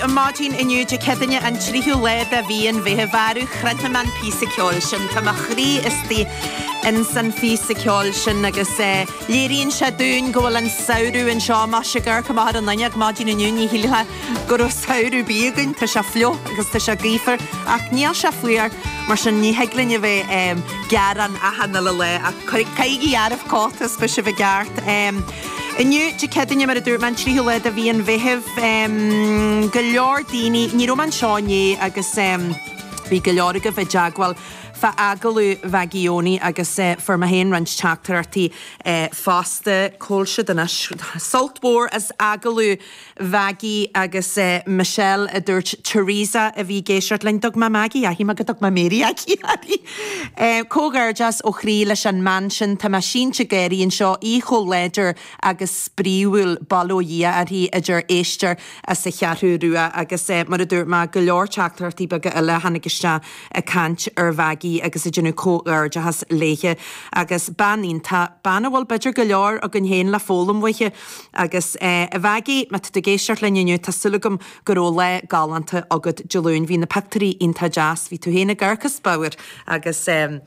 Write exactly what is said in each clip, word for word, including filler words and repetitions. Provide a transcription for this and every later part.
Ar maidin inniu Dé Céadaoine an tríú lá de mhí an Mheithimh arú chronaim an píosa ceoil sin Tá mo chroí istigh ins an phíosa ceoil sin agus eh, léiríonn sé dúinn go bhfuil an samhradh anseo más ag amharc amach ar an fhuinneog maidin inniu ní shílfeá go raibh samhradh ar bith againn Tá sé fliuch agus tá sé gaofar ach níl sé fuar mar sin ní thig linn a bheith um, gearán achan uile lá ach caithigí oraibh cóta is beidh sibh i gceart. Um, Inniu Dé Céadaoine mar a dúirt mé an tríú lá de mhí an Mheithimh um, go leor daoine ní raibh mé anseo inné agus um, bhí go leor agaibh i dteagmháil fá agallamh Mhaggie Eoin agus uh, fuair mé féin roinnt teachtaireachtaí uh, fosta cá bhfuil siad anois sult mhór as agallamh Mhaggie agus uh, Michelle a dúirt Teresa a bhí ag éisteacht linn dug má Maggie ahi má go dug má Mary aici. Uh, Comhghairdeas ó chroí leis an mbean sin tá mé sínte géirí anseo í chomh láidir agus spraíúil bail ó Dhia uirthi a deir éisteoir as an Cheathrú Rua agus uh, mar a dúirt mé go leor teachtaireachtaí beaga eile tháinig isteach ag caint ar Mhaggie agus ag déanamh comhghairdeachas léithe agus bean iontach bean a bhfuil b'fhéidir go leor againn féin le foghlaim uaithi agus uh, a Mhaggie má tá tú ag éisteacht linn inniu tá súil agam go raibh lá galánta agat Dé Luain bhí na pictiúirí iontach deas bhí tú féin ag amharc as bodhar agus um,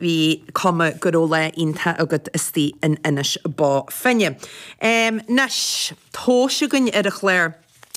bhí cuma go raibh lá iontach agat istigh in Inis Bó Finne. Um, Anois tomhas againn ar an chlár.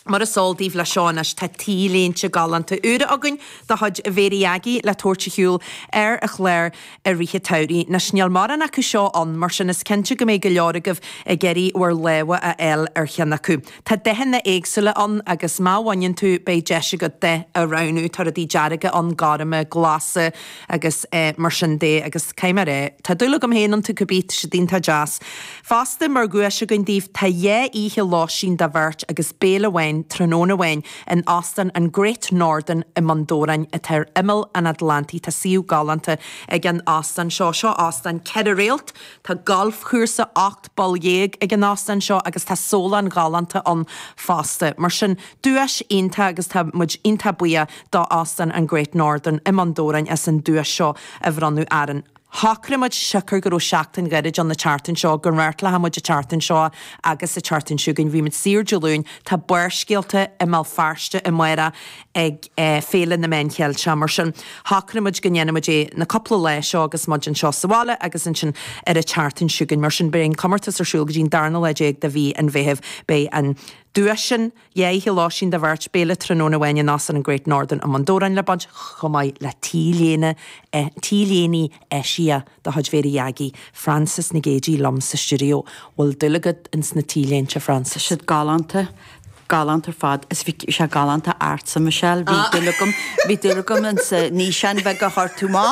Mar is eol daoibh le seo anois tá T-léinte galánta úra againn de chuid Mhéirí Aggie le tabhairt ar shiúl ar an chlár i rith an tsamhraidh. Anois níl mórán acu seo ann mar sin is cinnte go mbeidh go leor agaibh ag iarraidh bhur lámha a fháil ar cheann acu. Tá dathanna éagsúla ann agus má bhaineann tú beidh deis agat dath a roghnú tá rudaí dearga ann gorma glasa agus eh, mar sin de agus caiimar é. Tá dúil agam féin iontu cibé tá siad iontach deas. Fosta mar dhuais againn daoibh tá dhá oíche lóistín do bheirt agus béile amháin tráthnóna amháin in Óstán an Great Northern i mBun Dobhráin atá ar imeall an Atlantaigh tá suíomh galánta ag an óstán seo seo óstán ceithre réalt Tá galfchúrsa ocht bpoll dhéag ag an óstán seo agus tá sólann ghalánta ann fosta. Mar sin duais iontach agus tá muid iontach buíoch d'Óstán an Great Northern i mBun Dobhráin as an duais seo a bhronnadh orainn. Shocraigh muid siocair go raibh seachtain ghairid an na tseachtain seo go reáchtálfaidh muid an tseachtain seo agus an tseachtain seo chugainn bhí muid saor Dé Luain tá Barrscéalta i mBéal Feirste amárach ag eh, Féile na Meán Ceilteach mar sin shocraigh muid go ndéanfaidh muid é na cúpla lá seo agus muid anseo sa bhaile agus ansin ar an tseachtain seo chugainn mar sin beidh an comórtas ar siúl go dtí an darna lá déag de mhí an Mheithimh beidh an duais sin dhá oíche lóistín do bheirt béile tráthnóna amháin in Óstán an Great Northern i mBun Dobhráin le baint chomh maith le T-léine T-léine eisithe de chuid Mhéirí Aggie Frances Nic Géadaigh liom sa stiúideo bhfuil dúil agat ins na T-léinte Frances. Siad galánta galánta ar fad is bhí sé galánta ortsa Michelle bhí dúil agam bhí dúil agam an sa nísean bheith go chuir tú má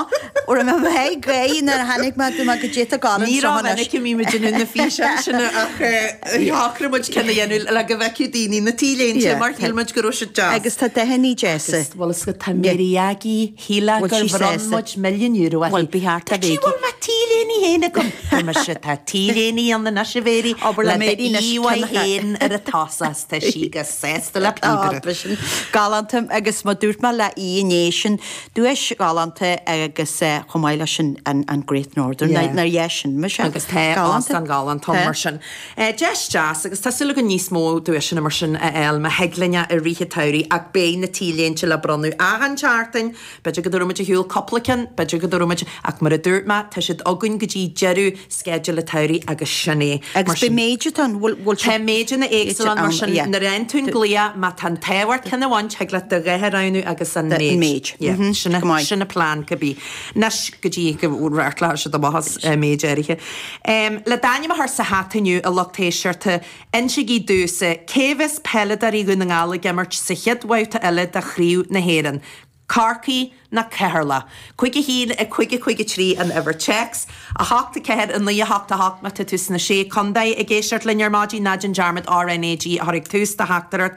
ó me hé gaé na tháinig me tú go dtéta galan Ní raibh mí muid na físeáin sin ach shocraigh muid ceann a dhéanamh le go bhfeicfeadh daoine na T-léinte mar shíl muid go raibh siad deas. Agus tá dathanna deasa. Bhfuil is go tá Mary Aggie shíle Bhfuil gur sí bhronn sásta? muid milliún euro Bhuel, bí thart a bhéicí. Bhfuil me T-léine féin agam Mar se tá T-léine an na se bhéirí Obair le Mary anois íhhaid ceann féin ar a tosas tá sí go sásta le píobaire. sin galánta agus má dúirt mé le í inné sin duais galánta agus eh, chomh maith leis sin an an Great Northern Yeah. nar dheis sin me Agus tá an galánta mar sin. Eh, Deis deas agus tá súil agam níos mó duaiseanna mar sin a fháil má thig linne i rith an tsamhraidh ach beidh na T-léinte le bronnadh achan tseachtain, B'fhéidir go dtabharfaidh muid ar shiúl cúpla ceann, b'fhéidir go dtabharfaidh muid ach mar a dúirt mé tá siad againn go dtí deireadh sceideal an tsamhraidh agus sin é. Mar Agus be sin- méid an bhfuil Tá méideanna éagsúla mar sin yeah. nuair a fhaigheann tú an glao má tá an t-ádh ort ceann a bhaint thig leat do dhath a roghnú agus an The méid. méid. Yeah, Mhm, sin a- go maith. sin a plean cibé. Anois go dtí go reáchtlóidh siad amach as eh, méid áirithe. Um, le d'ainm a chur sa hata inniu a lucht éisteachta insígí domhsa cé bheas peileadóirí Dhún na nGall ag imirt sa chéad bhabhta eile de Chraobh na hÉireann. Corcaigh nó Ceatharlach. Cúig a haon a cúig a cúig a trí an uimhir téacs, a hocht a ceathair a naoi a hocht a hocht má tá tú sna sé chontae ag éisteacht linn ar maidin ná déan dearmad RNAG a chur ag tús do theachtaireacht.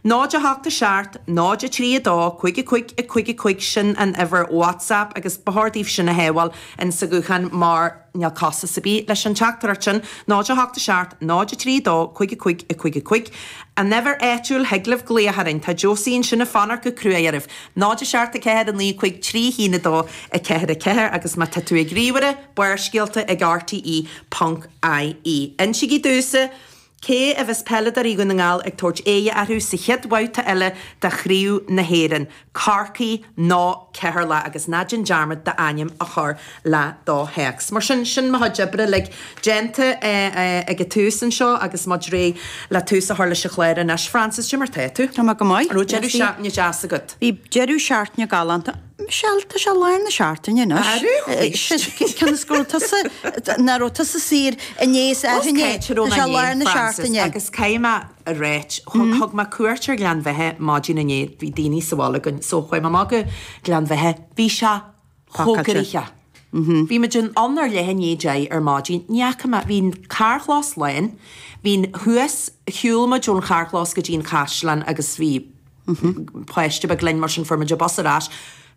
Náid a hocht a seacht, náid a trí a dó, cúig a cúig a cúig a cúig sin an uimhir WhatsApp agus ba chóir daoibh sin a shábháil in sa ghuthán mar níl costas ar bith leis an teachtaireacht sin, náid a hocht a seacht, náid a trí a dó, cúig a cúig a cúig a cúig. An uimhir áitiúil thig libh glaoch orainn, tá Josie ansin ag fanacht go crua oraibh. Náid a seacht a ceathair a naoi cúig trí haon a dó a ceathair a ceathair agus má tá tú ag ríomhaire, barrscéalta ag RTE ponc IE. Insígí domhsa, Cé a bheas peileadóirí Dhún na nGall ag tabhairt aghaidh orthu sa chéad bhabhta eile de Chraobh na hÉireann, Corcaigh nó Ceatharlach, agus ná déan dearmad d'ainm a chur le do théacs. Mar sin, sin mo chuid oibre uilig déanta ag an tús anseo agus muid réidh le tús a chur leis an chlár anois. Frances, cad é mar tá tú? Tá mé go maith. An raibh deireadh seachtaine deas agat? Bhí deireadh seachtaine galánta. Michelle, tá sé lár na seachtaine anois. Cionn is go raibh tusa, nach raibh tusa saor inné is arú-inné, tá sé lár na seachtaine. Agus caithfidh mé a ráit, thug mé cuairt ar Ghleann Bheithe maidin inné, bhí daoine sa bhaile againn, so chuaigh mé amach go Gleann Bheithe, bhí sé chomh gnoitheach. Bhí muid ann ar leath i ndiaidh a deich ar maidin, ní fhaca mé, bhí an carrchlós lán, bhí an thuas, shiúil muid ón charrchlós go dtí an caisleán agus bhí páiste beag linn mar sin fuair muid an bus ar ais.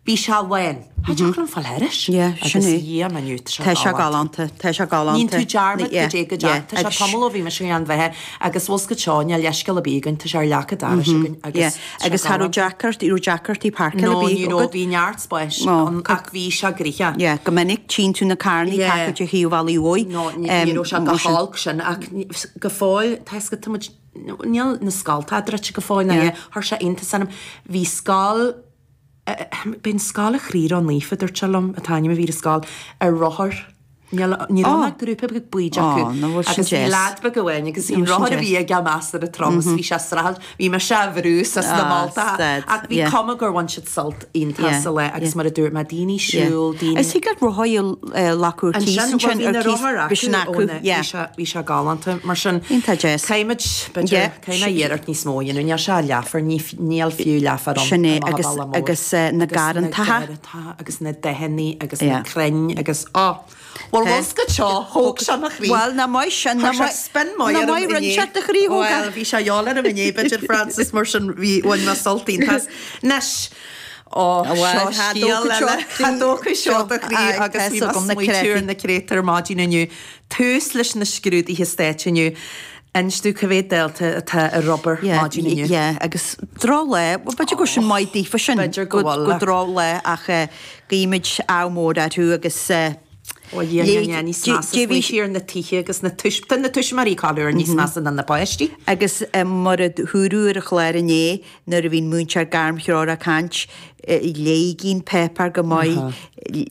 Bhí sé lán. Cha dtiocfadh liom fáil thairis. Yeah, sin Agus é. a Dhia m'inniu, tá sé Tá sé galánta. galánta, tá sé galánta. Níonn tú dearmad Yeah, go dté go yeah, dtearn. Tá sé agus tamall ó bhí mise i nGleann Bheithe agus bhfuil 's agat seo, níl leithscéal ar bith againn, tá sé ar leac an dorais againn agus Yeah, tá sé agus cha raibh galánta. deacracht, ní raibh deacrachtaí páirceála No, ar bith ní raibh, agat. bhí neart spáis No, ann ach bhí sé gnoitheach. Yeah, go minic tchíonn tú na carrannaí Yeah. páirceáilte ar thaobh an bhealaigh uaidh. No, ní Um, ní raibh sé go mar sin. holc sin ach ní- go fóill, tá 's agat, tá muid, níl na scoltacha druidte go fóill, ná Yeah. chuir sé iontas orm. Bhí scoil, b'in Scoil an Chroí Ró-Naofa, dúirt sé liom, an t-ainm a bhí ar an scoil, ar rothar. Níl ní raibh ach grúpa beag bíd acu. Ó, nach bhfuil sin Agus bhí deas. leaid beag amháin agus bhí Nach bhfuil sin rothar a deas. bhí aige measartha trom is bhí sé ag streachailt, bhí mise á bhrú suas na Ah, moltacha. stad, Ach bhí yeah. cuma gur bhain siad sult iontach Yeah, sa lá agus yeah. mar a dúirt mé, daoine Yeah. siúl, daoine... Is thig leat rothaí a lacú ar cíos Ansin, ansin, bhuel, bhí ar na cíos, rothair bhí sin acu acu, ó na- yeah. bhí sé- bhí sé galánta. Mar sin, Iontach deas. caithfimid, b'fhéidir, Yeah. caithfidh mé iarracht níos mó a dhéanamh. Níl sé leafar, ní f- níl fiú leafar ann Sin é, i mo agus- bhaile mór. agus, eh, na Agus na garrantacha. garrantacha agus na dathannaí agus na Yeah. crainn agus, oh, Bhuel, Tá. bhfuil 's agat seo, thóg sé mo chroí. Bhuel, nach maith sin, Chuir nach sé maith- spin maith nach orm maith rinne inné. sé do chroí, thóg Bhuel, bhí sé gheall orm inné, b'fhéidir, Frances, mar sin bhí bhain mé sult iontach as. Anois, ó, Bhuel, seo tá scéal dócha seo eile. Tá dócha seo do chroí Aye, agus tá bhí fhios agam na mé smaoitiú ar créataí. na créatúir maidin inniu. Tús leis na scrúduithe stáit inniu. Inis domh cá mhéad dalta atá ar obair Yeah, maidin inniu. yeah, agus drochlá, well, b'fhéidir go sin maith daofa sin, B'fhéidir go go bhfuil, go ach- drochlá ach eh, guímid ádh mór orthu agus eh, Ó Dhia, léigh- ní níos dé- measa dé bhí- smaoitiú ar na tithe agus na tuis- tá na tuismitheoirí cáiliúil níos measa ná na páistí. Agus eh, mar a dúradh ar an chlár inné nuair a bhíonn múinteoir gairmthreorach ag caint, eh, léigí an páipéar go maith,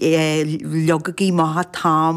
eh, leogaigí maith t-am